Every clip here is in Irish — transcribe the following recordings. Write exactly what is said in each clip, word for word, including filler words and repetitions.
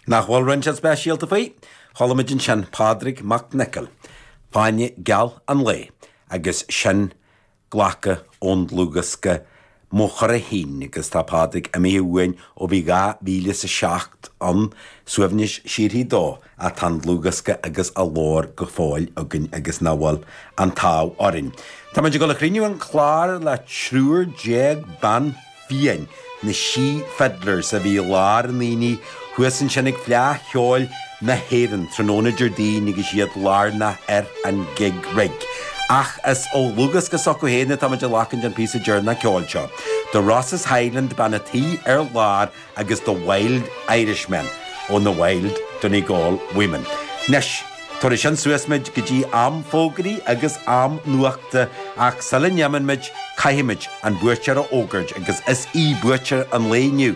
Nach bhfuil rud inteacht speisialta faoi? Chuala muid ansin Pádraig Mac Niocaill, Fáinne Geal an Lae, agus sin glacadh ón dlúthdhiosca Mo Chara Féin agus tá Pádraig imithe uainn ó bhí dhá mhíle is a seacht ann, suaimhneas síoraí dó, ach tá an dlúthdhiosca agus a ghlór go fóill againn agus nach bhfuil an t-ádh orainn. Tá muid ag dul a chríochnú an clár le triúr déag bean fiáin, na Sí Fiddlers a bhí i lár an aonaigh thuas ansin ag Fleadh Cheoil na hÉireann tráthnóna Déardaoin agus iad lárnach ar an gig rig. Ach is ó dhlúthdhiosca s'acu féin atá muid ag glacaint an píosa deireanach ceoil seo. The Rosses Highland bean a' tí ar lár agus The Wild Irishmen ó na Wild Donegal Women. Anois, tabharfaidh sin suas muid go dtí am fógraí agus am nuachta ach sula n-imíonn muid caithfimid an buaiteoir a fhógairt agus is í buaiteoir an lae inniu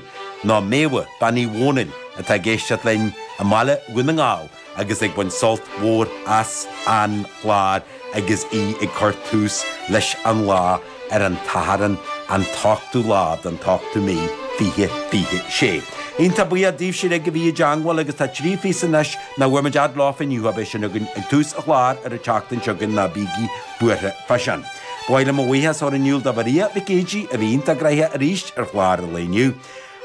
ná Méabha Bean Uí Dhónaill atá ag éisteacht linn i mBaile Dhún na nGall agus ag baint sult mhór as an chlár agus í ag cur tús leis an lá ar an tSatharn an t-ochtú lá den t-ochtú mí fiche fiche sé. Iontach buíoch daoibhse uilig a bhí i dteangmháil agus tá trí phíosa anois nach bhfuair muid fhad leofa inniu beidh sin againn ag tús an chláir ar an tseachtain seo chugainn ná bígí buartha fá sin. Ba mhaith liom mo bhuíochas a chur in iúl do Mharia Mhic Géidigh a bhí iontach gnoitheach arís ar chlár an lae inniu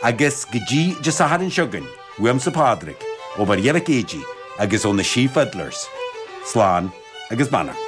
agus go dtí Dé Sathairn seo chugainn, uaimse Pádraig, ó Mharia Mhic Géidigh agus ó na Sí Fiddlers. Slán agus beannacht.